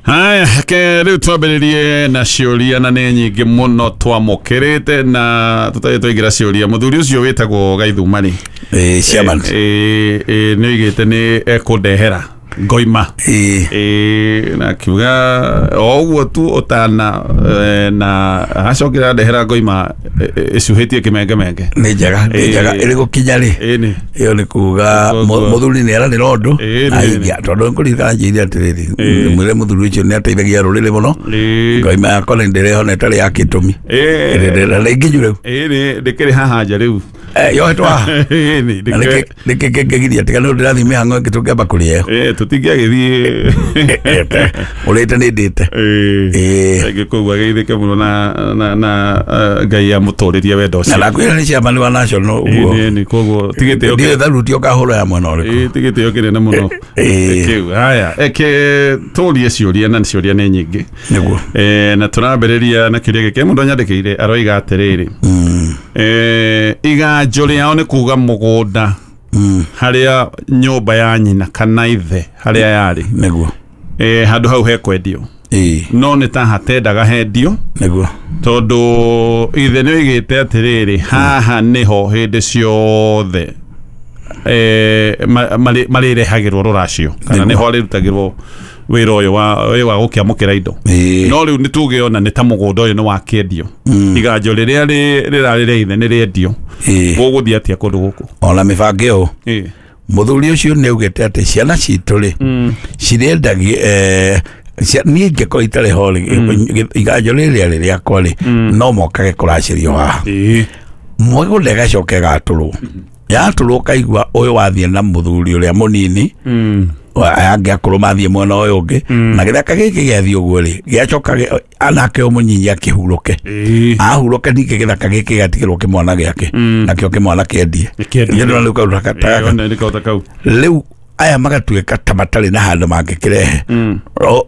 Haya, ke rĩu twambĩrĩrie na ciũria na nĩ nyingĩ mũno twamũkĩrĩte na tũtarĩ twaingĩra ciũria. Mũthuri ũcio wĩtagwo Gaithuma rĩ, Chairman. Nĩ oigĩte nĩ ekũndehera ngoima. Na akiuga o ũguo tu ũtana na acokera ndehera ngoima ĩcuhĩtie kĩmengemenge. Nĩ njega, nĩ njega. Ĩrĩ gũkinya rĩ, Ĩni. ĩyo nĩ kuga Koguo- mũthuri nĩ eranĩra ũndũ Ĩĩ, na nĩ- ingia tondũ nĩkũririkana njĩire atĩrĩrĩ, mwĩre mũthuri ũcio nĩ ateithagia rũrĩrĩ mũno. Ngoima yakwa nĩ ndĩrehona ĩtarĩ ya kĩtũmi. Na nĩ nginyu rĩu. Ĩni ndĩkĩrĩ haha nja rĩu. Yohetwo haha. Ĩni Na nĩkĩ kĩngĩgiria tiga nĩ ndĩrathiĩ mĩhang'o ĩngĩ tũngĩamba kũrĩa ĩyo. Tũtingĩagĩthiĩ. Ũrĩte nĩ ndĩte. Rĩngĩ koguo ageithĩke mũno na Ngai amũtũrĩrie wendo Na ũcio. ndakwĩra nĩ chairman wa national ũguo. Ĩni koguo ti gĩtĩo Ndiũĩ tharuti ũkahũra ya mwena ũrĩkũ. Ti gĩtĩo kĩnene mũno kĩu. Haya, eke tũrie ciũria na ciũria nĩ nyingĩ. Nĩguo. Na tũrambĩrĩria na kĩũria gĩkĩ mũndũ anyandĩkĩire aroiga atĩrĩrĩ, iganjo rĩao nĩ kuga mũgũnda harĩa nyũmba ya nyina kana ithe harĩa yarĩ. Nĩguo. Handũ hau hekwendio. No nĩ ta hatendaga hendio. Nĩguo. Tondũ ithe nĩ oigĩte atĩrĩrĩ, haha nĩho hĩndĩ ciothe marĩrehagĩrwo rũracio kana Nĩguo. nĩho arĩrutagĩrwo wĩra ũyũ wa gũkĩamũkĩra indo. No rĩu nĩ tuge ona nĩ ta mũgũnda ũyũ nĩ wakĩendio, iganjo rĩrĩa rĩrarĩ rĩa ithe nĩ rĩendio. Gũgũthiĩ atĩa kũndũ gũkũ? Ona mĩbango ĩyo mũthuri ũcio nĩ augĩte atĩ ciana citũ rĩ cirĩendagie, niĩ ingĩkorwo itarĩ ho rĩ, iganjo rĩrĩa rĩ rĩakwa rĩ no mokage kũracĩrio haha. Mũgũnda ĩgacoka ĩgatũrwo, yatũrwo ũkaigua ũyũ wathiĩ na mũthuri ũrĩa mũnini, aya angĩ akũrũ mathiĩ mwena ũyũ ũngĩ, na gĩthaka gĩkĩ gĩathiĩ ũguo rĩ gĩacoka anake ũyũ mũnyinyi akĩhurũke. Ahurũke ningĩ gĩthaka gĩkĩ gĩatigĩrwo kĩmwana gĩake, nakĩo kĩmwana kĩendie. Kĩendie. Nĩ ndĩrona rĩu kaũndũ ta gaka. Ona nĩ kaũndũ kau. Rĩu aya magatuĩka ta matarĩ na handũ mangĩkĩrehe.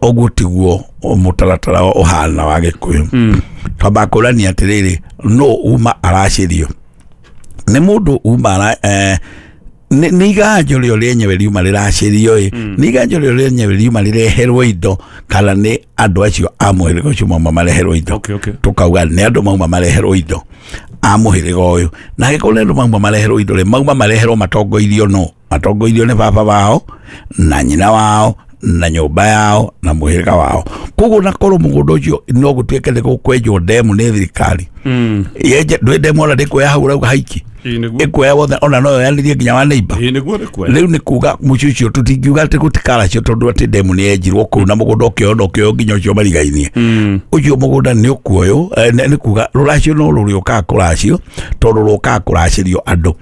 Ũguo tiguo mũtaratara ũhana wa Gĩkũyũ. Twambaga kũrania atĩrĩrĩ, no uma aracĩrio nĩ mũndũ uma ara, nĩ iganjo rĩo rĩenyewe riuma rĩracĩrio ĩ, nĩ iganjo rĩo rĩenyewe riuma rĩreherwo indo kana nĩ andũ acio a mũhĩrĩga ũcio mauma mareherwo indo. Okay. Tukauga nĩ andũ mauma mareherwo indo a mũhĩrĩga ũyũ, na angĩkorwo nĩ andũ mauma mareherwo indo rĩ, mauma mareherwo matongoirio no matongoirio nĩ baba wao na nyina wao na nyũmba yao na mũhĩrĩga wao. Koguo na korwo mũgũnda ũcio no gũtuĩke nĩ gũkwenjwo ndemu nĩ thirikari yenje, ndwĩ ndemu ona ndĩkuoya hau ũrauga haiki. Ĩĩ nĩguo. Ĩkuoya wothe ona no yoyanĩrie nginya wa neighbor. Ĩĩ nĩguo nĩkuoya. Rĩu nĩ kuga mũciĩ ũcio tũtingiuga atĩ gũtikaracio tondũ atĩ ndemu nĩ yenjirwo kũu na mũgũnda ũkĩoywo na ũkĩoywo nginya ũcio marigainie. Ũcio mũgũnda nĩ ũkuoywo, nĩ kuga rũracio no rũrĩũkaga kũracio tondũ rũkaga kũracĩrio andũ.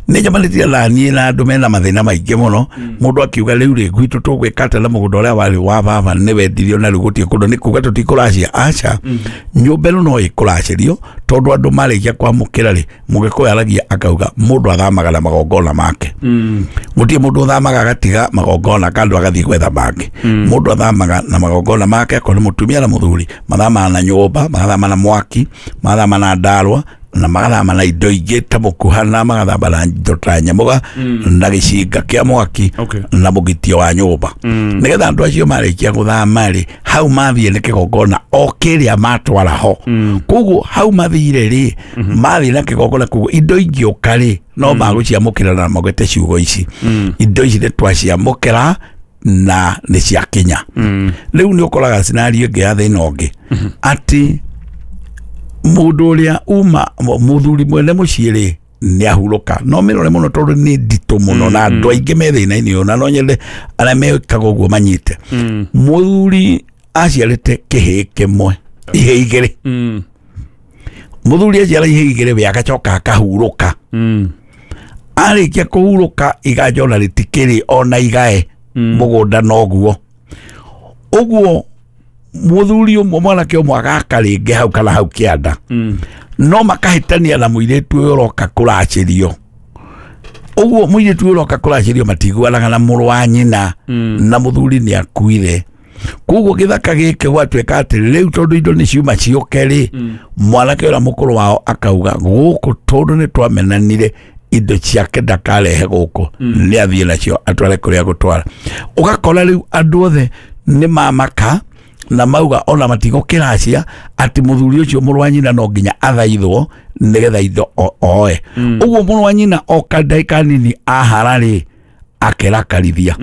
Nĩ njamanĩtie na niĩ na andũ mena mathĩna maingĩ mũno. Mũndũ akiuga rĩu rĩ gwitũ tũgwĩka atĩa na mũgũnda ũrĩa warĩ wa baba nĩ wendirio na rĩu gũtirĩ kũndũ, nĩ kuga tũtikũracia. Aca, nyũmba ĩno no ĩkũracĩrio tondũ andũ marĩkia kwamũkĩra rĩ, Mũgĩkũyũ aragia akauga mũndũ athamaga na magongona make. Gũtirĩ mũndũ ũthamaga agatiga magongona kandũ agathiĩ gwetha mangĩ. Mũndũ athamaga na magongona make, akorwo nĩ mũtumia na mũthuri mathamaga na nyũmba, magathama na mwaki, magathama na ndarwa na magathama na indo ingĩ ta mũkuhana, magathama na indo ta nyamũga na gĩcinga kĩa mwaki na mũgitio wa nyũmba, nĩgetha andũ acio marĩkia gũthama rĩ, hau mathiĩ nĩ kĩgongona o kĩrĩa matwara ho. Koguo hau mathire rĩ, mathiĩ na kĩgongona, koguo indo ingĩũka rĩ no magũciamũkĩra na magwete ciugo ici, indo ici nĩ twaciamũkĩra na nĩ ciakinya. Rĩu nĩ ũkoraga scenario ĩngĩ ya thĩna ũngĩ atĩ mũndũ ũrĩa uma mũthuri mwene mũciĩ rĩ nĩ ahurũka, no mĩrore mũno tondũ nĩ nditũ mũno na andũ aingĩ me thĩna-inĩ ũyũ, na no nyende arĩa mekaga ũguo manyite. Mũthuri aciarĩte kĩhĩĩ kĩmwe, ihĩĩ igĩrĩ. Mũthuri aciara ihĩĩ igĩrĩ we agacoka akahurũka. Arĩkia kũhurũka iganjo ona rĩtikĩrĩ ona igae mũgũnda noguo ũguo mũthuri ũmwe mwanake ũmwe agaka rĩngĩ hau kana hau kĩanda, no makahĩtania na mũirĩtu ũyũ ũroka kũracĩrio. Ũguo mũirĩtu ũyũ ũroka kũracĩrio matiguanaga na mũrũ wa nyina na mũthuri nĩ akuire. Koguo gĩthaka gĩkĩ gwatuĩka atĩ rĩu tondũ indo nĩ ciuma ciũke rĩ, mwanake ũrĩa mũkũrũ wao akauga gũkũ tondũ nĩ twamenanire indo ciake ndakarehe gũkũ, nĩ athiĩ nacio atware kũrĩa gũtwara. Ũgakora rĩu andũ othe nĩ mamaka. Na mauga ona matigũkĩracia atĩ mũthuri ũcio mũrũ wa nyina no nginya athaithwo nĩgetha indo oe. Ũguo mũrũ wa nyina oka ndagĩka nini ahara rĩ akerakarithia.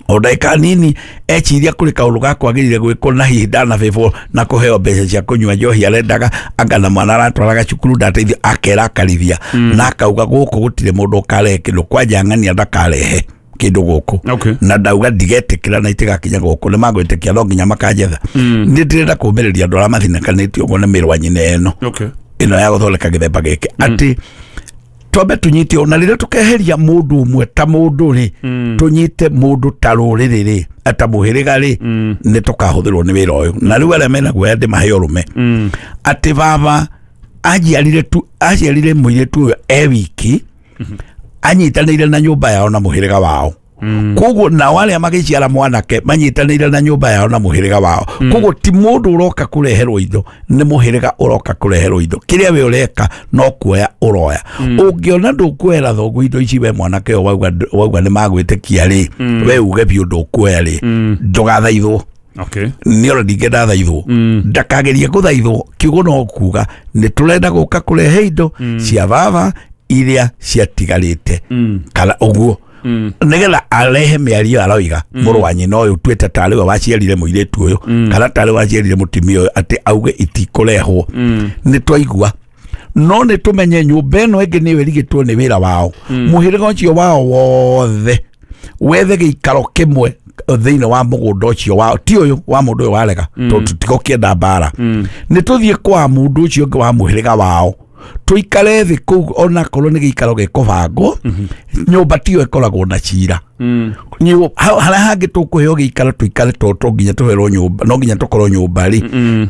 O ndagĩka nini eciria kũrĩ kaũndũ gakwagĩrĩire gwĩkwo na hihi ndanabĩbwo na kũheo mbeca cia kũnyua njohi arendaga anga na mwana aratwaraga cukuru ndateithio akerakarithia na akauga gũkũ gũtirĩ mũndũ ũkarehe kĩndũ kwanja ng'ania ndakarehe kĩndũ gũkũ. Okay. Na ndauga ndigetĩkĩra na itigakinya gũkũ nĩ magwĩtĩkia no nginya makanjetha. Nĩ ndĩrenda kũmĩrĩria andũ arĩa mathinakanĩtio ũguo nĩ mĩrũ wa nyina ĩno. Okay. Ĩno ya gũthondeka gĩthemba gĩkĩ atĩ twambe tunyite ona rĩrĩa tukeheria mũndũ ũmwe ta mũndũ rĩ tunyite mũndũ ta rũrĩrĩ rĩ ta mũhĩrĩga rĩ nĩ tũkahũthĩrwo nĩ wĩra ũyũ. Na rĩu arĩa mena guoya ndĩmahe ũrũme atĩ baba aciarire mũirĩtu ũyũ e wiki anyitanĩire na nyũmba yao na mũhĩrĩga wao. Koguo nao arĩa magĩciara mwanake manyitanĩire na nyũmba yao na mũhĩrĩga wao. Koguo ti mũndũ ũroka kũreherwo indo nĩ mũhĩrĩga ũroka kũreherwo indo. Kĩrĩa we ũreka no kuoya ũroya. Ũngĩona ndũkuoera thoguo indo ici we mwanake ũyũ wauga nĩ magwĩtĩkia rĩ we uge biũ ndũkuoya rĩ ndũgathaithwo. Okay. Nĩ ona ndingĩenda thaithwo ndakagerie gũthaithwo kiugo no kuga nĩ tũrenda gũka kũrehe indo cia baba iria ciatigarĩte kana ũguo nĩgetha arehe mĩario aroiga mũrũ wa nyina ũyũ tuĩte tarĩ we waciarire mũirĩtu ũyũ kana tarĩ waciarire mũtumia ũyũ atĩ auge itikũrehwo. Nĩ twaigua no nĩ tũmenye nyũmba ĩno ĩngĩ nĩyo ĩrigĩtwo nĩ wĩra wao. Mũhĩrĩga ũcio wao wothe wethe gĩikaro kĩmwe thĩinĩ wa mũgũnda ũcio wao ti ũyũ wa mũndũ ũyũ warega tondũ tũtigũkĩenda mbara. Nĩ tũthiĩ kwa mũndũ ũcio ũngĩ wa mũhĩrĩga wao tuikare thĩ kũu onakorwo nĩ gĩikaro gĩkũbangwo nyũmba tiyo ĩkoragwo na cira. Harĩa hangĩ tũkũheo gĩikaro tũikare to nginya tũherwo nyũmba no nginya tũkorwo nyũmba rĩ.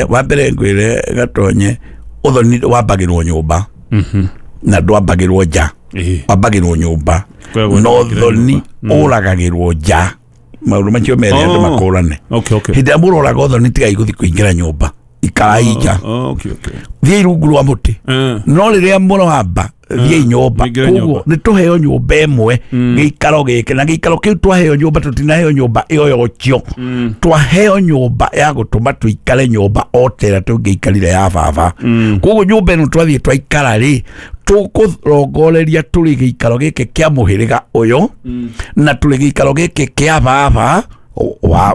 Wa mbere ngwĩre Gatonye ũthoni wambagĩrwo nyũmba na ndwambagĩrwo nja wambagĩrwo nyũmba no ũthoni ũragagĩrwo nja. Maũndũ macio merĩ andũ makũrane. Hĩndĩ ĩrĩa mũroraga ũthoni tigai gũthiĩ kũingĩra nyũmba ikarai nja. Okay, okay. Thiĩ rungu rwa mũtĩ no rĩrĩa mũroamba thiĩ nyũmba. Koguo nĩ tũheo nyũmba ĩmwe gĩikaro gĩkĩ na gĩikaro kĩu twaheo nyũmba tũtinaheo nyũmba ĩyo yocio. Twaheo nyũmba ya gũtũma tũikare nyũmba o ta ĩrĩa tũngĩikarire ya baba. Koguo nyũmba ĩno twathiĩ twaikara rĩ tũkũrongoreria tũrĩ gĩikaro gĩkĩ kĩa mũhĩrĩga ũyũ na tũrĩ gĩikaro gĩkĩ kĩa baba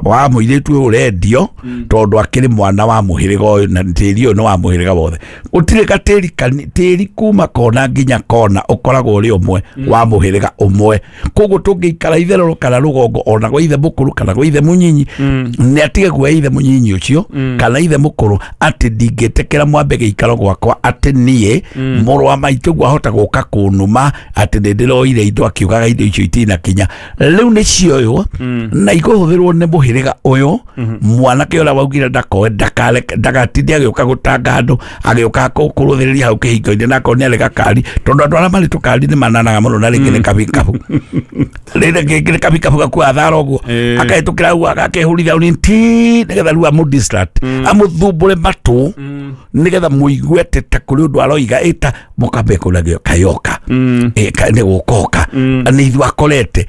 wa mũirĩtu ũyũ ũrendio tondũ akĩrĩ mwana wa mũhĩrĩga ũyũ na tĩri ũyũ nĩ wa mũhĩrĩga wothe. Gũtirĩ gatĩri tĩri kuma kona nginya kona ũkoragwo ũrĩ ũmwe wa mũhĩrĩga ũmwe. Koguo tũngĩikara itherero kana rũgongo ona gwa ithe mũkũrũ kana gwa ithe mũnyinyi nĩ atige kuoya ithe mũnyinyi ũcio kana ithe mũkũrũ atĩ ndingĩtĩkĩra mwambe gĩikaro gwakwa atĩ niĩ mũrũ wa maitũ guo ahota gũka kũnuma atĩ nĩ ndĩroire indo akiugaga indo icio itinakinya. Rĩu nĩ cioywo na ikũhũthĩrwo nĩ mũhĩrĩga ũyũ mwanake ũrĩa waugire ndakoe ndagatinde agĩũka gũtanga andũ agĩũka kũrũthĩrĩria hau kĩhingo-inĩ na akorwo nĩ arĩ gakari tondũ andũ arĩa marĩ tũkari nĩ mananaga mũno na rĩngĩ nĩ kabikabu rĩngĩ nĩ kabikabu gakuaga thara ũguo akahĩtũkĩra hau agakehũrithia hau ti nĩgetha rĩu amũ-distract amũthumbũre matũ nĩgetha mũigue atĩ ta kũrĩ ũndũ aroiga ĩta mũkambe kũragio kayoka nĩ gũkoka nĩ ithuĩ akorete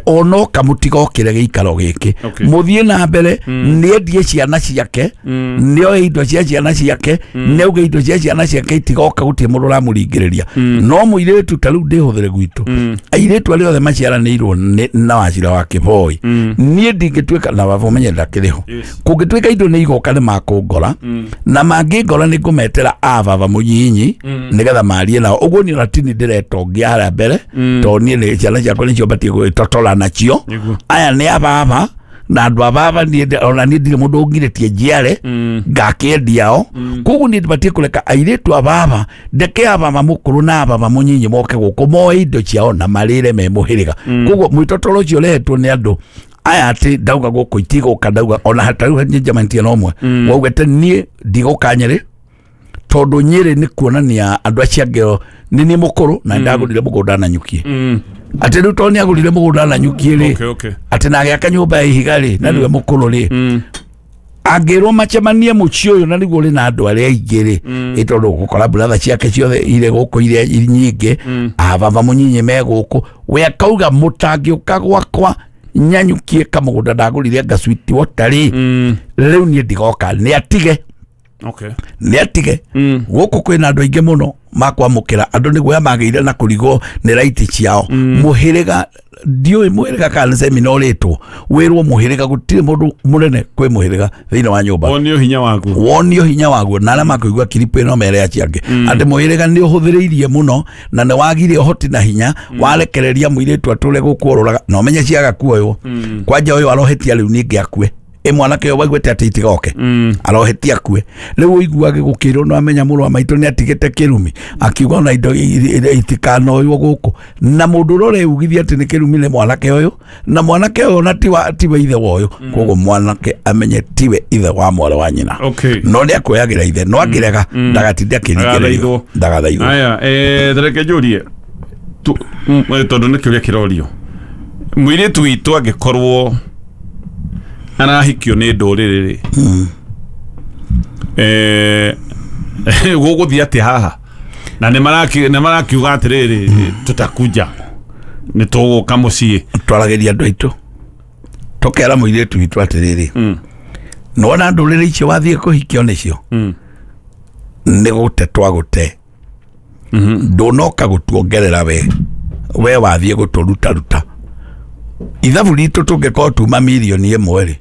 onoka mũtigokĩre gĩikaro gĩkĩ mũthiĩ na mbere nĩendie ciana ciake nĩoe indo cia ciana ciake nĩauge indo cia ciana ciake itigoka gũtirĩ mũndũ ũramũringĩrĩria. No mũirĩtu ta rĩu ndĩhũthĩre gwitũ airĩtu arĩa othe maciaranĩirwo na Wachira wa Kĩboi niĩ ndingĩtuĩka na baba ũmenye ndakĩrĩ ho kũngĩtuĩka indo nĩ igoka nĩ makũngora na mangĩngora nĩ ngũmetera a baba mũnyinyi nĩgetha marie nao. Ũguo niĩ ona tini ndĩretongia harĩa mbere tondũ niĩ ciana ciakwa nĩcio batiĩ gwĩtotora nacio aya nĩ ababa na andũ ababa ona niĩ ndirĩ mũndũ ũngirĩtie njiare ngakĩendia o. Koguo niĩ ndibatiĩ kũreka airĩtu ababa ndeke ababa mũkũrũ na ababa mũnyinyi moke gũkũ moe indo ciao na marĩre me mũhĩrĩga. Koguo mwĩtotoro ũcio ũrehetwo nĩ andũ aya atĩ ndauga gũkũ itigũka ndauga ona hatarĩ njemanĩtie na ũmwe waugĩte niĩ ndigũka Nyĩrĩ tondũ Nyĩrĩ nĩ kuonania andũ acio angĩ nĩ niĩ mũkũrũ na ndagũrire mũgũnda na nyukie atĩ rĩu tondũ nĩagũrire mũgũnda na nyukie rĩ atĩ na agĩaka nyũmba ya ihiga rĩ na nĩwe mũkũrũ rĩ angĩrwo macemanie mũciĩ ũyũ na nĩguo ũrĩ na andũ arĩa aingĩ rĩ ĩ tondũ gũkora buratha ciake ciothe irĩ gũkũ iria nyingĩ ababa mũnyinyi me gũkũ we akauga mũtangĩũka gwakwa Nyanyukie kamũgũnda ndagũrire ngasuiti wotari rĩu niĩ ndigoka nĩ atige. Okay. Nĩ atige. Gũkũ kwĩna andũ aingĩ mũno makwamũkĩra andũ nĩ guoya magĩire na kũrigwo nĩ raiti ciao. Mũhĩrĩga ndiũĩ mũhĩrĩga kana semina ũrĩtwo wĩrwo mũhĩrĩga gũtirĩ mũndũ mũnene kwĩ mũhĩrĩga thĩinĩ wa nyũmba. Wonio hinya waguo. Wonio hinya waguo na arĩa makũigua kiripu ĩno mere acio angĩ atĩ mũhĩrĩga nĩ ũhũthĩrĩirie mũno na nĩ wagire ũhoti na hinya warekereria mũirĩtu atũre gũkũ orũraga na ũmenye ciaga kuoywo. Kwanja ũyũ arohetia rĩu ningĩ akue. Ĩ mwanake ũyũ waiguĩte atĩ itigoke arohetia akue rĩu ũiguage gũkĩrwo no amenya mũrũ wa maitũ nĩ atigĩte kĩrumi akiuga ona indo itikanoywo gũkũ na mũndũ ũrĩa ũreugithia atĩ nĩ kĩrumi nĩ mwanake ũyũ na mwanake ũyũ ona tiwe ithe wa ũyũ koguo mwanake amenye tiwe ithe wa mwarĩ wa nyina. Okay. No nĩ akuoyagĩra ithe no angĩrega ndagatinde akĩringĩrĩrio ndagathaithwo. Aya reke njũrie tondũ nĩ kĩũria kĩrorio mũirĩtu witũ angĩkorwo arahikio nĩ ndũrĩrĩ rĩ gũgũthiĩ atĩa haha na nĩ marakiuga atĩrĩrĩ tũtakuja nĩ tũgũka mũciĩ twaragĩria andũ aitũ tũkera mũirĩtu witũ atĩrĩrĩ nĩwona ndũrĩrĩ icio wathiĩ kũhikio nĩcio nĩ gũte twagũte ndũnoka gũtuongerera we wathiĩ gũtũrutaruta ithabu ritũ tũngĩkorwo tuma mirioni ĩmwe rĩ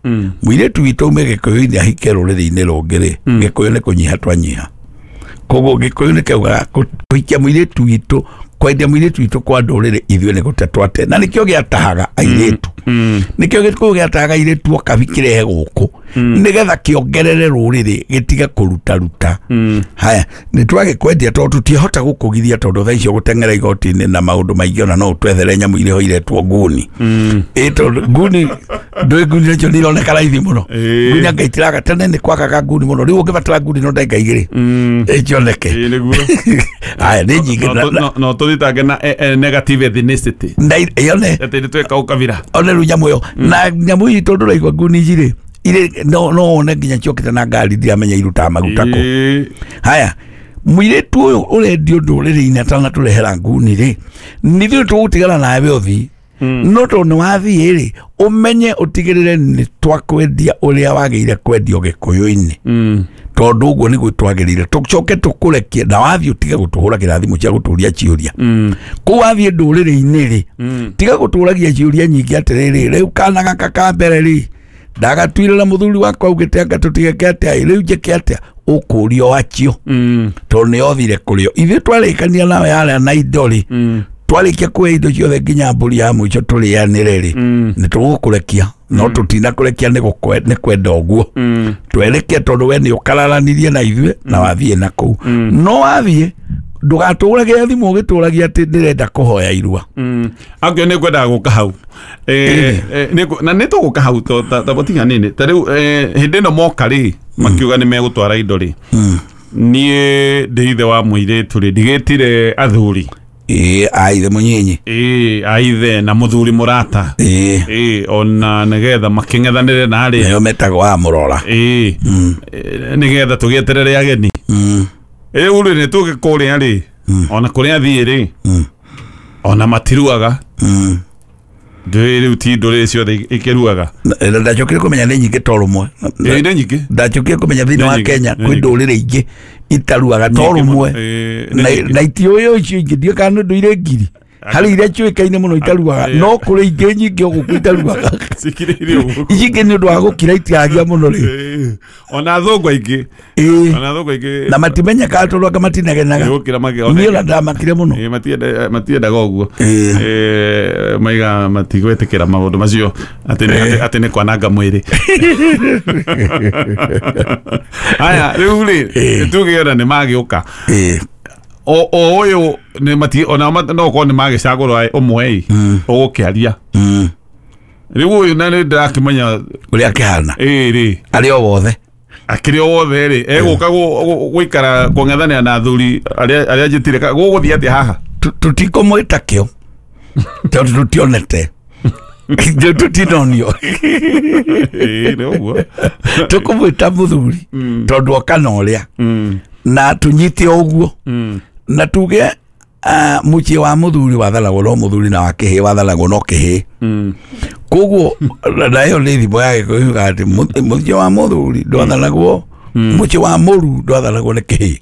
mũirĩtu witũ ume gĩkũyũ-inĩ ahike rũrĩrĩ-inĩ rũngĩ rĩ gĩkũyũ nĩ kũnyiha twanyiha koguo gĩkũyũ nĩ kĩaugaga kũhikia mũirĩtu witũ kwendia mũirĩtu witũ kwa ndũrĩrĩ ithuĩ nĩ gũte twate na nĩkĩo gĩatahaga airĩtu nĩkĩo gĩkũyũ gĩatahaga airĩtu oka kĩrehe gũkũ nĩgetha kĩongerere rũrĩrĩ gĩtige kũrutaruta. Haya nĩ twagĩkwendia tondũ tũtiahota gũkũgiria tondũ thaa icio gũteng'era igoti-inĩ na maũndũ maingĩ ona no ũtwethere nyamũ iria iretwo nguni. Ĩ tondũ nguni ndũĩ nguni nacio nĩ ironeka raithi mũno nguni anga itiraga tene nĩ kwagaga nguni mũno rĩu ũngĩbatara nguni no ndagĩka igĩrĩ ĩcioneke. Haya nĩ nyingĩ no tũthitange na negative ethnicity yone atĩ nĩ tweka ũkabira one rĩu nyamũ ĩyo na nyamũ itũ ndũraigua nguni ici rĩ ire no one nginya ciokĩte na ngari ndiramenya irutaga maguta kũ. Haya mũirĩtu ũyũ ũrendio ndũrĩrĩ-inĩ atanatũrehera nguni rĩ nithuĩ tũgũtigana nawe ũthiĩ no tondũ nĩ wathiĩ rĩ ũmenye ũtigĩrĩre nĩ twakwendia ũrĩa wagĩrĩire kwendio gĩkũyũ-inĩ tondũ ũguo nĩguo twagĩrĩire tũcoke tũkũrekie na wathiĩ ũtige gũtũhũragĩra thimũ cia gũtũria ciũria kũu wathiĩ ndũrĩrĩ-inĩ rĩ tiga gũtũragia ciũria nyingĩ atĩrĩrĩ rĩu kana gaka ka mbere rĩ ndagatuire na mũthuri wakwa augĩte anga tũtigeke atĩa rĩu njĩke atĩa ũkũrio wacio tondũ nĩ othire kũrĩo ithuĩ twarĩkania nawe yarĩa na indo rĩ twarĩkia kuoya indo ciothe nginya mbũri ya mũico tũrĩanĩre rĩ nĩ tũgũkũrekia no tũtinakũrekia nĩ kwenda ũguo twereke tondũ we nĩ ũkararanirie na ithuĩ na wathiĩ na kũu no wathiĩ ndũgatũragĩre thimũ ũgĩtũragia atĩ ndĩrenda kũhoya irua. Angĩ nĩ ngwendaga gũka hau na nĩ tũgũka hau ta mũtiga nini ta rĩu hĩndĩ ĩno moka rĩ makiuga nĩ megũtwara indo rĩ niĩ ndĩ ithe wa mũirĩtu rĩ ndigĩtire athuri ĩ aithe mũnyinyi ĩ aithe na mũthuri mũrata ĩ ona nĩgetha makĩng'ethanĩre na arĩa nĩo metagwo a mũrora ĩ nĩgetha tũgĩeterere ageni rĩu rĩ nĩ tũgĩ kũrĩa rĩ ona kũrĩa thiĩ rĩ ona matiruaga ndũĩ rĩu ti ndũrĩrĩ ciothe ikĩruaga. Ndacokire kũmenya nĩ nyingĩ to rũmwe. Nĩ nyingĩ ndacokire kũmenya thĩinĩ wa Kenya kwĩ ndũrĩrĩ ingĩ itaruaga to rũmwe na itiũĩ icio ingĩ ndiũĩ kana nĩ ndũire ngiri harĩ iria ciũĩkaine mũno itaruaga no kũrĩ ingĩ nyingĩ o gũkũ itaruaga cikirĩire ũguo ici ingĩ nĩ ũndũ wa gũkira itiragia mũno rĩ ona athũngũ aingĩ ona athũngũ aingĩ na matimenyekaga tondũ anga matinegenaga niĩ ona ndamakire mũno matiendaga ũguo maiga matigwĩtĩkĩra maũndũ macio atĩ nĩ kwananga mwĩrĩ. Haya rĩu rĩ tuge ona nĩ magĩũka o ũyũ nĩ mati ona no korwo nĩ magĩcagũra ũmwe ĩ ũgũkĩaria rĩu ũyũ na nĩ ndĩrakĩmenya ũrĩa akĩhana ĩ rĩ arĩ o wothe akĩrĩ o wothe rĩ egũka gũikara kũng'ethanĩra na athuri arĩa njĩtire gũgũthiĩ atĩa haha tũtikũmwĩta kĩo tondũ tũtionete tũtinonio ĩ nĩ ũguo tũkũmwĩta mũthuri tondũ oka na ũrĩa na tũnyite o ũguo na tuge mũciĩ wa mũthuri wathanagwo no mũthuri na wa kĩhĩĩ wathanagwo no kĩhĩĩ. Koguo na ĩyo nĩ thimo ya Gĩkũyũ yugaga atĩ mũciĩ wa mũthuri ndwathanagwo, mũciĩ wa mũru ndwathanagwo nĩ kĩhĩ,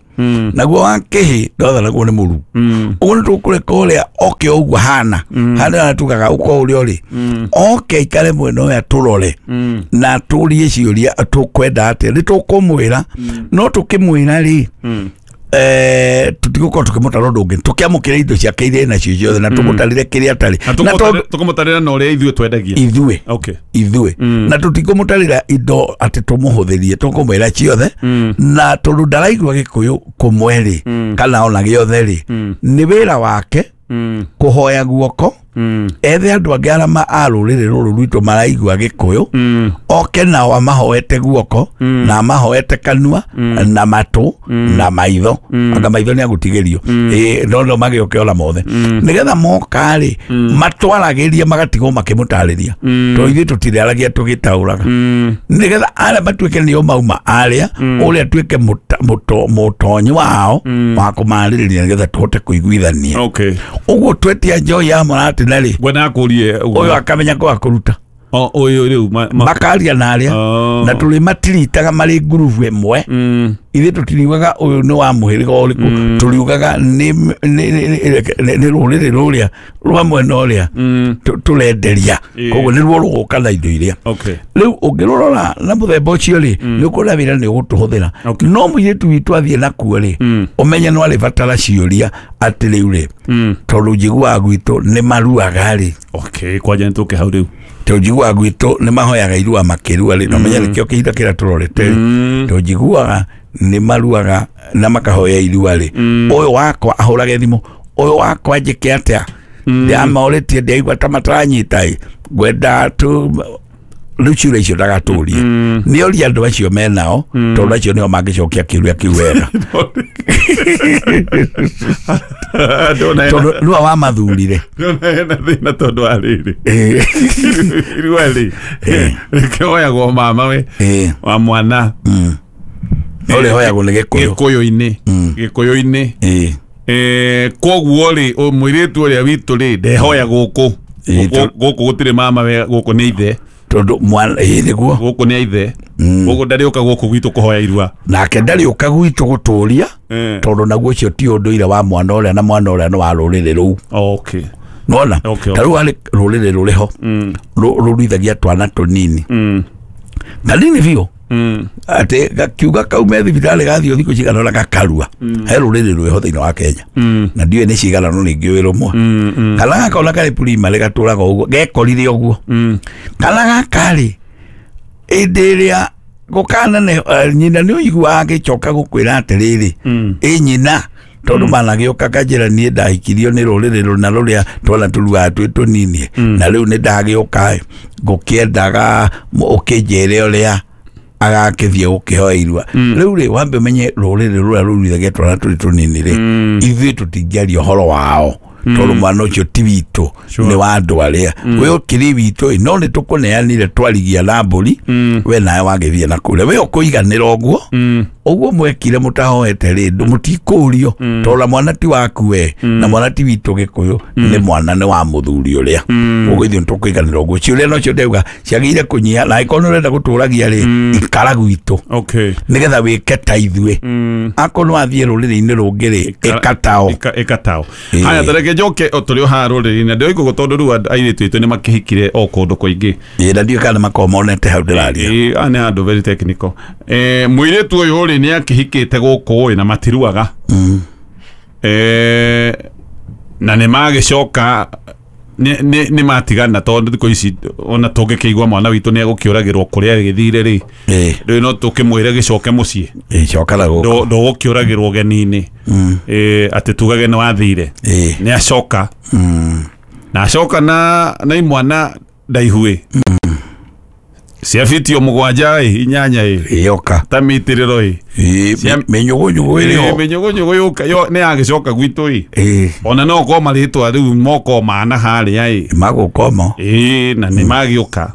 naguo wa kĩhĩ ndwathanagwo nĩ mũru. Ũguo nĩ tũkũreka ũrĩa oke ũguo hana hana tugaga ũko ũrĩa ũrĩ, oke aikare mwena ũyũ atũrore na tũrie ciũria tũkwenda atĩa, nĩ tũkũmwĩra, no tũkĩmwĩra rĩ, tũtigũkorwo tũkĩmũtara ũndũ ũngĩ, tũkĩamũkĩra indo ciake iria nacio ciothe na tũmũtarĩre kĩrĩa atarĩ, na tũkũmũtarĩra na ũrĩa ithuĩ twendagia ithuĩ, ithuĩ, na tũtikũmũtarĩra indo atĩ tũmũhũthĩrie, tũkũmwĩra ciothe, na tondũ ndaraigua Gĩkũyũ kũmwe rĩ, kana ona gĩothe rĩ, nĩ wĩra wake kũhoya guoko, ethe andũ angĩ arĩa a rũrĩrĩ rũrũ rwitũ maraigua Gĩkũyũ, oke nao amahoete guoko, na amahoete kanua, na matũ, na maitho, anga maitho nĩ agũtigĩrio, no no magĩũke ona mothe, nĩgetha moka rĩ matwaragĩrie, magatigwo makĩmũtarĩria, tondũ ithuĩ tũtirĩaragia tũgĩtaũraga, nĩgetha arĩa matuĩke nĩo mauma arĩa, ũrĩa atuĩke mũtonyi wao wa kũmarĩrĩria, nĩgetha tũhote kũiguithania. Ũguo twetia njohi ya mũratina rĩ, ngwenda kũrie ũyũ akamenya kwa kũruta, ũyũ rĩu makaria na arĩa, na tũrĩ matiritaga marĩ ngurubu ĩmwe, ithuĩ tũtiriugaga ũyũ nĩ wa mũhĩrĩga ũrĩkũ, tũriugaga nĩ rũrĩrĩ rũrĩa rwa mwena ũrĩa tũrenderia, koguo nĩruo rũgũka na indo iria. Rĩu ũngĩrũrora na mũthemba ũcio rĩ, nĩ ũkuona wĩra nĩ ũgũtũhũthĩra, no mũirĩtu witũ athiĩ nakuo rĩ, ũmenye no arĩbatara ciũria atĩ rĩu rĩ, tondũ njiguaga gwitũ nĩ maruaga rĩ. Kwanja nĩ tũke hau rĩu, tondũ njiguaga gwitũ nĩ mahoyaga irua makĩrua rĩ, na ũmenye nĩkĩo kĩhinda kĩrĩa tũrorete rĩ, tondũ njiguaga nĩ maruaga na makahoya irua rĩ, ũyũ wakwa ahũrage thimũ, ũyũ wakwa njĩke atĩa, ndĩramorĩtie ndĩraigua ta mataranyita ĩ, ngwenda tu rĩu ciũria icio ndagatũrie, nĩ oria andũ acio menao, tondũ acio nĩo mangĩcokia kĩũria kĩu wega, tondũ nĩwe wamathurire. Ndona hena thĩna tondũ wa rĩrĩ, irua rĩ rĩkĩhoyagwo mama we wa mwana, no rĩhoyagwo nĩ Gĩkũyũ, Gĩkũyũ-inĩ, Gĩkũyũ-inĩ. Koguo rĩ, mũirĩtu ũrĩa witũ rĩ ndehoya gũkũ, gũkũ gũtirĩ mama we, gũkũ nĩ ithe, tondũ mwana nĩguo gũkũ nĩ ithe, gũkũ ndarĩũka gũkũ gwitũ kũhoya irua, nake ndarĩũka gwitũ gũtũria, tondũ naguo ũcio ti ũndũire wa mwana ũrĩa, na mwana ũrĩa nĩ wa rũrĩrĩ rũu. Nona ta rĩu harĩ rũrĩrĩ rũrĩho rũruithagia twana tũnini, kanini biũ, atĩ gakiuga kaume thibitarĩ gathiĩ thikũ cigana ũna gakarua. He rũrĩrĩ rwĩho thĩinĩ wa Kenya, na ndiũĩ nĩ cigana no ningĩ rũmwe, kana gakona karĩ primary gatũraga ũguo, gekorire ũguo, kana gaka rĩ, ĩndĩ ĩrĩa gũkanene nyina nĩ ũiguaga agĩcoka gũkwĩra atĩrĩrĩ, ĩ nyina, tondũ managĩũka kanjĩra niĩ ndahikirio nĩ rũrĩrĩ rũna rũrĩa twana tũruaga twĩ tũnini, na rĩu nĩ ndagĩũka ngũkĩendaga ũkĩnjĩre ũrĩa agakĩthiĩ gũkĩhoya irua. Rĩu rĩ, wambe ũmenye rũrĩrĩ rũrĩa rũruithagia twana tũrĩ tũnini rĩ, ithuĩ tũtingĩaria ũhoro wao, tondũ mwana ũcio ti witũ, nĩ wa andũ arĩa we ũkĩrĩ witũ, no nĩ tũkũneanire twarigia na mbũri, we nawe wagĩthiĩ na kũrĩa, we ũkũiganĩra ũguo ũguo mwekire mũtahoete rĩ, mũtikũrio, tondũ mwana ti waku we, na mwana ti witũ Gĩkũyũ, nĩ mwana nĩ wa mũthuri ũrĩa, ũguo ithuĩ nĩtũkũiganĩra ũguo. Ciũria nocio ndauga ciagĩrĩire kũnyiha, na angĩkorwo nĩ ũrenda gũtũragia rĩ, ikara gwitũ, nĩgetha wĩke ta ithuĩ, akorwo nĩ wathiĩ rũrĩrĩ-inĩ rũngĩ rĩ, ĩka tao, ĩka tao. Haya, tareke njoke o tũrĩ o haha rũrĩrĩ-inĩ, ndĩroigua tondũ rĩu airĩtu aitũ nĩ makĩhikire o kũndũ kũingĩ, na ndiũĩ kana nĩmakoragwo monete hau ndĩraria. Aya nĩ andũ very technical. Mũirĩtu ũyũ rĩ nĩ akĩhikĩte gũkũ ĩ, na matiruaga, na nĩ magĩcoka nĩ matigana, tondũ thikũ ici ona tũngĩkĩigua mwana witũ nĩ egũkĩũragĩrwo kũrĩa agĩthire rĩ, rĩu no tũkĩmwĩre gĩcoke mũciĩ, coka na gũkũ, ndũgũkĩũragĩrwo ũgeni-inĩ, atĩ tugage nĩ wathire, nĩ acoka, na acoka na imwana ndaihu cia fiti o 7 ĩ 8 ĩ yoka ta mitĩrĩro ĩ mĩnyũgũnyũgũ ĩrĩ ho, mĩnyũgũnyũgũ yũka nĩ yagĩcoka gwitũ ĩ, ona no ũkorwo marĩtwa rĩu moko mana harĩa ĩ magũkomo ĩ, na nĩ magĩũka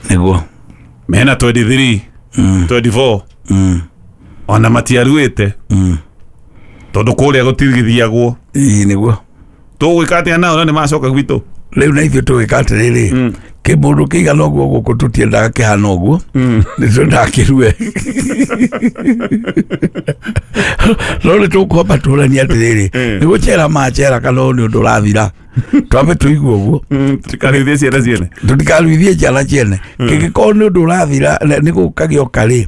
nĩguo mena 23 24 ona matiaruĩte tondũ kũrĩa gũtigithiagwo. Ĩ nĩguo Tũgwĩka atĩa nao na nĩ macoka gwitũ? Rĩu na ithuĩ tũgwĩka atĩrĩrĩ, Kĩmũndũ kĩigana ũguo gũkũ tũtiendaga kĩhana ũguo, nĩ twendaga kĩrue. No nĩ tũkwamba tũranie atĩrĩrĩ, nĩ gũcera macera kana ũyũ nĩ ũndũ ũrathira, twambe tũigue ũguo. Tũtikaruithie ciana ciene. Tũtikaruithie ciana ciene. Kĩngĩkorwo nĩ ũndũ ũrathira, nĩ gũka gĩoka rĩ,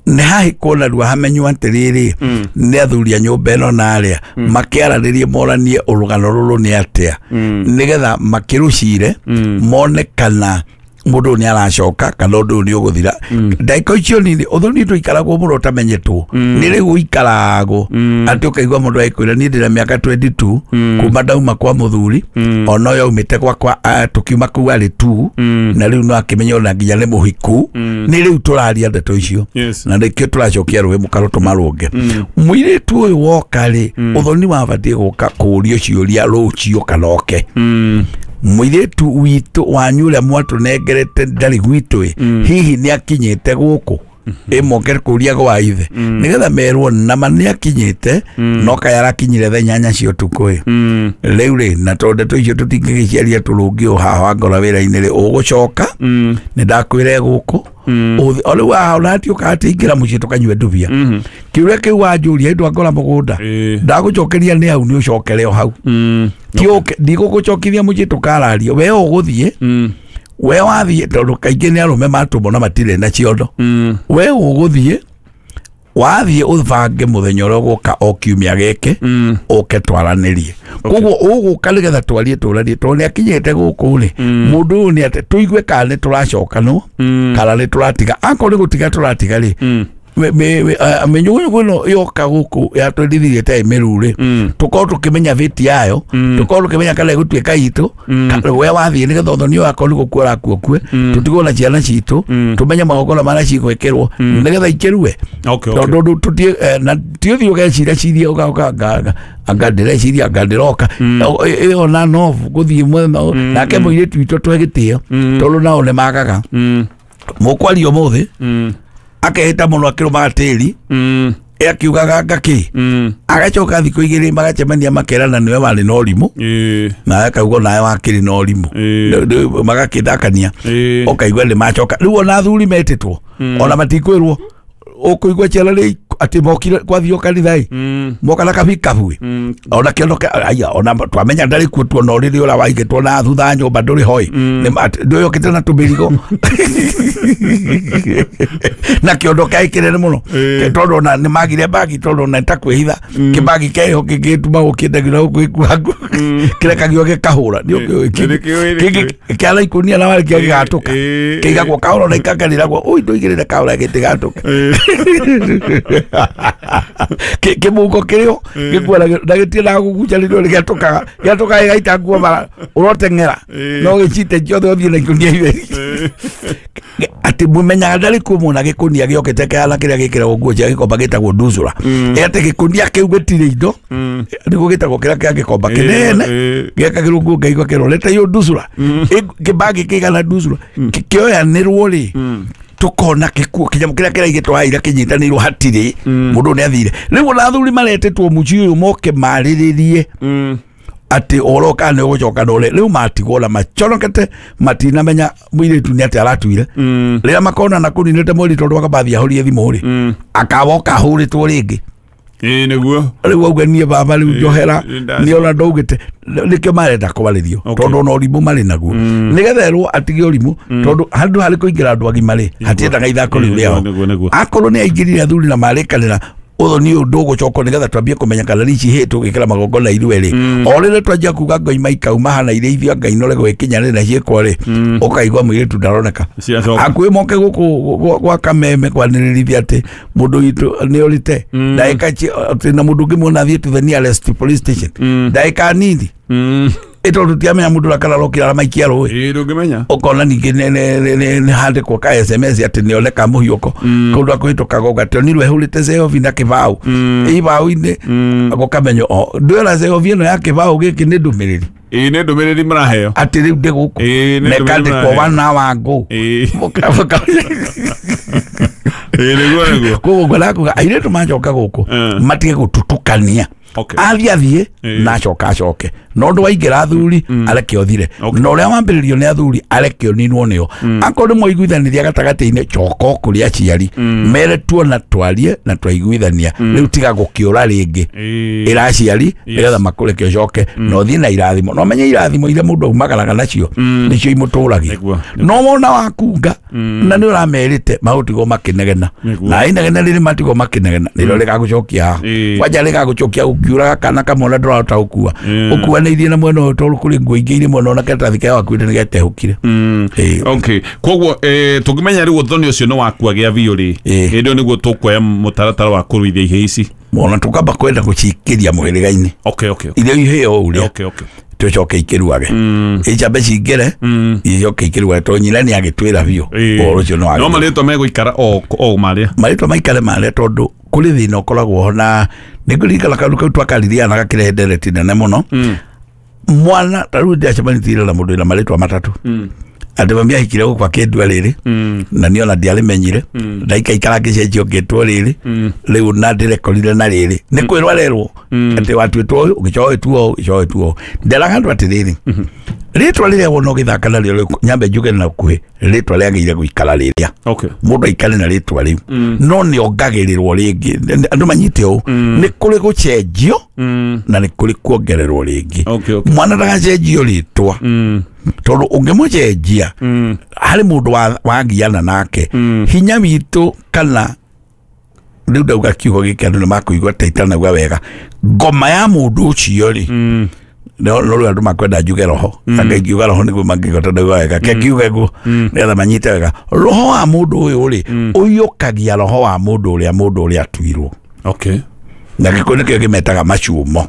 nĩ hahĩkwo narua hamenywo atĩrĩrĩ, nĩ athuri a nyũmba ĩno na arĩa makĩaranĩrie moranie ũrũgano rũrũ nĩ atĩa, nĩgetha makĩrũcire mone kana mũndũ ũyũ nĩ aracoka kana ũndũ ũyũ nĩ ũgũthira. Ndagĩka icio nini ũthoni tũikaragwo mũno ũtamenyetwo, nĩ rĩu ũikaragwo atĩ ũkaigua mũndũ agĩkwĩra niĩ ndĩna mĩaka 22 kuma ndauma kwa mũthuri, ona ũyũ aumĩte gwakwa, tũkiuma kũu arĩ tu, na rĩu no akĩmenya ona nginya nĩ mũhiku. Nĩ rĩu tũraria ndeto icio. Na nĩkĩo tũracokia rũĩ mũkaro tũmarũnge. Mũirĩtu ũyũ woka rĩ, ũthoni wabatiĩ gũka kũũrio ciũria rũciũ kana oke. Mũirĩtu witũ wanyu ũrĩa mwatũnengerete ndarĩ gwitũ ĩ, hihi nĩ akinyĩte gũkũ? Ĩmoke kũria gwa ithe nĩgetha merwo nama nĩ akinyĩte, no kaya arakinyire thaa 8 cia ũtukũ ĩ. Rĩu rĩ, na tondũ ndeto icio tũtingĩgĩciaria tũrũngi o haha wangora wĩra-inĩ rĩ, ũgũcoka nĩ ndakwĩre gũkũ o rĩu haha ona atiũka atĩ ingĩra mũciĩ tũkanyue ndubia. Kĩũria kĩu wanjũria hĩndĩ wangora mũgũnda, ndagũcokeria nĩ hau, nĩ ũcokere o hau. Ti ũke, ndigũgũcokithia mũciĩ tũkararia, we ũgũthiĩ, we wathiĩ, tondũ kaingĩ nĩ arũme matũmwo na matirĩ na ciondo. We ũgũthiĩ, wathiĩ ũbange mũthenya ũrĩa ũgũka o kiumia gĩkĩ, ũke twaranĩrie. Koguo ũgũka nĩgetha twarie tũranie, tondũ nĩ akinyĩte gũkũ rĩ, mũndũ ũyũ nĩ atĩ tũigue kana nĩ tũracokanwo kana nĩ tũratiga. Akorwo nĩ gũtiga tũratiga rĩ, mĩnyũgũnyũgũ ĩno yoka gũkũ yatwendithirie ta ĩmĩru rĩ, tũkorwo tũkĩmenya bĩti yayo, tũkorwo tũkĩmenya kana ĩgũtuĩka itũ. We wathiĩ nĩgetha ũthoni ũyũ akorwo nĩ gũkua ũrakua ũkue, tũtigwo na ciana citũ, tũmenye magongona marĩa cigwĩkĩrwo nĩgetha ikĩrue. Tondũ ũndũ tũtie na ti ũthiĩ ũgeciria ciria ũgaũka anga ndĩreciria anga ndĩroka ĩyo na nobu gũthiĩ mwena nake mũirĩtu witũ tũhe gĩtĩo, tondũ nao nĩ magaga mũkwaria ũmũthĩ akehĩta mũno akĩrũmaga tĩri, akiugaga ngakĩ, agacoka thikũ igĩrĩ magacemania makerana nĩwe warĩ na ũrimũ, nawe akauga nawe wakĩrĩ na ũrimũ, magakĩthakania, ũkaigua nĩ macoka. Rĩu ona athuri metĩtwo ona matikwĩrwo, ũkũigua ciana rĩ atĩ mokire kwathio kanitha ĩ, moka na kabikabu ĩ, ona kĩondo aya, ona twamenya ndarĩ kuo, tuona ũrĩrĩ ũrĩa waigĩtwo na thutha nyũmba ndũrĩ hoi, ndũyũkĩte na tũmĩrigo na kĩondo kĩaĩ kĩnene mũno, tondũ ona nĩ magire bagi, tondũ ona ta kwĩhitha kĩbagi keho kĩngĩtuma gũkĩndagio na gũkũ gĩkuangu kĩrekagio gĩkahũra kĩara ikũnia na warĩkia gĩgatũka kĩigagwo kahũra na ikakanĩragwo ui ndũigĩrĩre kahũra gĩtigatũke. Kĩmũhuko kĩrĩo gĩkuana na gĩtiendaga gũgucanĩrio, nĩ gĩatũkaga gĩatũkaga gĩgaita nguo bara ũroteng'era no gĩcite ciothe ũthiĩ na ikũnia itheri, atĩ mũmenyaga ndarĩ kuo muona gĩkũnia gĩokĩte kĩhana kĩrĩa gĩkĩragwo nguo cia gĩkomba gĩtagwo nduzura, atĩ gĩkũnia kĩu gĩtirĩ indo, nĩguo gĩtagwo kĩrĩa kĩa gĩkomba kĩnene gĩekagĩrwo nguo ngaigua kĩrorete iyo nduzura, kĩbagi kĩigana nduzura kĩoyanĩrwo rĩ, tukona gĩkuo kĩnyamũ kĩrĩa kĩraigĩtwo haha ira kĩnyitanĩirwo hatirĩ mũndũ nĩ athire. Rĩu ona athuri maretĩtwo mũciĩ ũyũ moke marĩrĩrie atĩ ũhoro kana nĩ ũgũcoka na ũrĩa rĩu matigwo na maconokete, matinamenya mũirĩtu nĩ atĩ aratuire. Rĩrĩa makona na kũninĩte mweri tondũ akabathi ahũrie thimũ rĩ, akawoka ahũrĩtwo rĩngĩ. Ĩĩ nĩguo. Rĩu auga niĩ baba rĩu njohera nĩ ona ndaugĩte, nĩkĩo marenda kwarĩrio, tondũ ona ũrimũ marĩ naguo, nĩgetha erwo atige ũrimũ, tondũ handũ harĩ kũingĩra andũ agima rĩ, hatiendaga ithako rĩu rĩao. Akorwo nĩ aingĩrire athuri na marĩkanĩra ũthoni ũyũ ndũgũcokwo, nĩgetha twambie kũmenya kana rici hĩ tũgĩkĩra magongona ithuĩ rĩ, o rĩrĩa twanjia kuga ngoima ikauma hana irĩithio Ngai nore gwĩkinya rĩ na ciĩkwo rĩ, ũkaigua mũirĩtu ndaroneka. Hakuhĩ moke gũkũ gwa kameme kwanĩrĩrithia atĩ mũndũ witũ nĩ ũrĩte ndagĩka atĩ na mũndũ ũngĩmuona athiĩ to the nearest police station ndagĩka nini, ĩtondũ tiamenya mũndũ ũrĩa kana arokire aramaikia rũĩ. Ĩĩ ndũngĩmenya. Ũkona ningĩ nĩ handĩkwo ka SMS atĩ nĩoneka mũhiũko kũndũ akũhĩtũkaga ũgatĩ onirwo ehũrĩte ceobi na kĩbaũ ibaũ-inĩ, gũkamenywo o ndwĩra ceobi ĩno ya kĩbaũ gĩkĩ nĩ ndũmĩrĩri. Ĩĩ nĩ ndũmĩrĩri mũraheo atĩ rĩu ndĩ gũkũ na ĩkandĩkwo wana wangu. Ĩĩ nĩguo nĩguo. Koguo ngwendaga kuga airĩtu macoka gũkũ matige gũtutukania. Okay. Athiĩ Ĩĩ. na acoka acoke na ũndũ waingĩra athuri areke ũthire Okay. na ũrĩa wambĩrĩrio nĩ athuri areke ũninwo nĩo akorwo nĩ mwaiguithanĩria gatagatĩ-inĩ coka o kũrĩ aciari mere tuona twarie na twaiguithania rĩu tiga gũkĩũra rĩngĩ Ĩĩ. ĩra aciari nĩgetha makũreke ũcoke na ũthiĩ na irathimo na ũmenye irathimo iria mũndũ aumagaraga nacio nĩcio imũtũragia Nĩguo. no wona wakunga na nĩ ũramerĩte magũtigwo makĩnegena Nĩguo. na inegena rĩrĩ matigwo makĩnegena nĩrĩo rĩgagũcokia haha Ĩĩ. kwanja rĩgagũcokia ũkiuraga kana kamwe na ndũrahota gũkua ũkuanĩirie na mwena ũyũ tondũ kũrĩ nguo ingĩ irĩ mwena ũyũ na karatathi karĩa wakuĩte nĩgetehũkire Ĩĩ. Okay, koguo tũngĩmenya rĩu ũthoni ũcio nĩ wakua gĩa biũ rĩ, Ĩĩ. hĩndĩ ĩyo nĩguo tũkuoya mũtaratara wa kũruithia ihĩĩ ici. Ona tũkamba kwenda gũcikĩria mũhĩrĩga-inĩ Okay, okay, okay. iria ihĩo ũrĩa Okay, okay. tũcoke ikĩruage icambe cingĩre icoke ikĩruage tondũ nyina nĩ agĩtwĩra biũ Ĩĩ. ũhoro ũcio nĩ No wagĩrĩire. marĩtwa megũikara o marĩa. Marĩtwa maikare marĩa tondũ kũrĩ thĩna ũkoragwo ho na nĩ ngũririkana kaũndũ kau twakaririe na gakĩrehe ndereti nene mũno. Mwana ta rĩu ndĩacemanĩtie na mũndũ wĩna marĩtwa matatũ atĩ mami ahikire gũkũ akĩndua rĩrĩ na niĩ ona ndiarĩmenyire ndaikaikara ngĩcenjio ngĩtwo rĩrĩ rĩu na ndĩrekorire na rĩrĩ nĩ kwĩrwo arerwo atĩ watuĩtwo ũyũ ũgĩcoka ũgĩtuo ũũ ũgĩcoka ũgĩtuo ũũ. Nderaga andũ atĩrĩrĩ, rĩtwa rĩrĩa wona ũgĩthaka narĩo rĩu, nyambe njuge na ũkuhĩ rĩtwa rĩagĩrĩire gũikara rĩrĩa Okay. mũndũ aikare na rĩtwa rĩu no nĩ ongagĩrĩrwo rĩngĩ. Andũ manyite ũũ, nĩ kũrĩ gũcenjio na nĩ kũrĩ kuongererwo rĩngĩ. Okay, okay. Mwana ndagacenjio rĩtwa tondũ ũngĩmũcenjia harĩ mũndũ wagiana nake hinya witũ kana rĩu ndauga kiugo gĩkĩ andũ nĩ makũigua ta itanauga wega ngoma ya mũndũ ũcio rĩ no no rĩu andũ makwenda njuge roho anga ingiuga roho nĩguo mangĩigua ta ndauga wega ke ngiuge guo nĩgetha manyite wega roho wa mũndũ ũyũ rĩ ũiyũkagia roho wa mũndũ ũrĩa atuirwo. Okay. Na gĩkũyũ nĩkĩo kĩmetaga macumo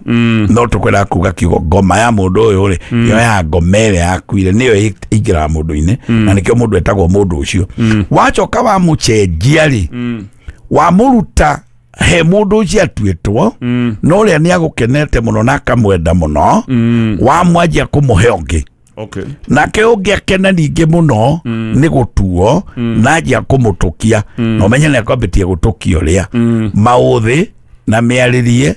no tũkwendaga kuga kiugo ngoma ya mũndũ ũyũ rĩ yoyaga ngoma ĩrĩa yakuire nĩyo ĩingĩraga mũndũ-inĩ na nĩkĩo mũndũ etagwo mũndũ ũcio. Wacoka wamũcenjia rĩ wamũruta he mũndũ ũcio atuĩtwo na ũrĩa nĩ agũkenete mũno na akamwenda mũno wamwanjia kũmũhe ũngĩ. Okay. Nake ũngĩ akena ningĩ mũno nĩ gũtuo na anjia kũmũtũkia na ũmenye nĩ akwambĩtie gũtũkia ũrĩa maũthĩ na mĩarĩrie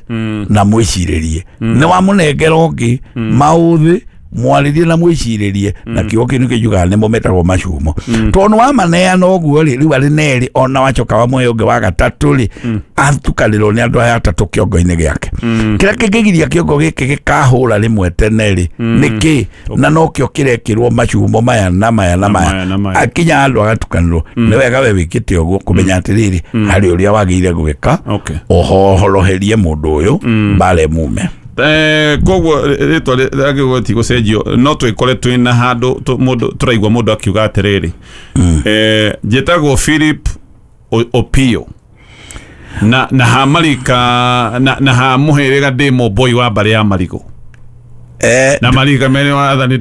na mwĩcirĩrie nĩ wamũnengera ũngĩ maũthĩ mwarĩrie na mwĩcirĩrie na kiugo kĩu nĩkĩo njugaga nĩmo metagwo macumo tondũ nĩ wamaneana ũguo rĩ rĩu arĩ nerĩ ona wacoka wamũhe ũngĩ wa gatatũ rĩ atukanĩrwo nĩ andũ aya atatũ kĩongo-inĩ gĩake kĩrĩa kĩngĩgiria kĩongo gĩkĩ gĩkahũra rĩmwe tene rĩ nĩkĩ na nokĩo kĩrekĩrwo macumo maya na maya na maya na maya maya. akinya handũ agatukanĩrwo nĩ wega we wĩkĩte ũguo kũmenya atĩrĩrĩ harĩ ũrĩa wagĩrĩire gwĩka Okay. ũhoroherie mũndũ ũyũ mbara ĩmume. Koguo rĩtwa rĩagĩrĩirwo ti gũcenjio no twĩkore twĩna handũ mũndũ tũraigua mũndũ akiuga atĩrĩrĩ njĩtagwo Philip Opio na ha marika na ha mũhĩrĩga ndĩ mũmboi wa mbarĩ ya marigũ na marika merĩ wathani.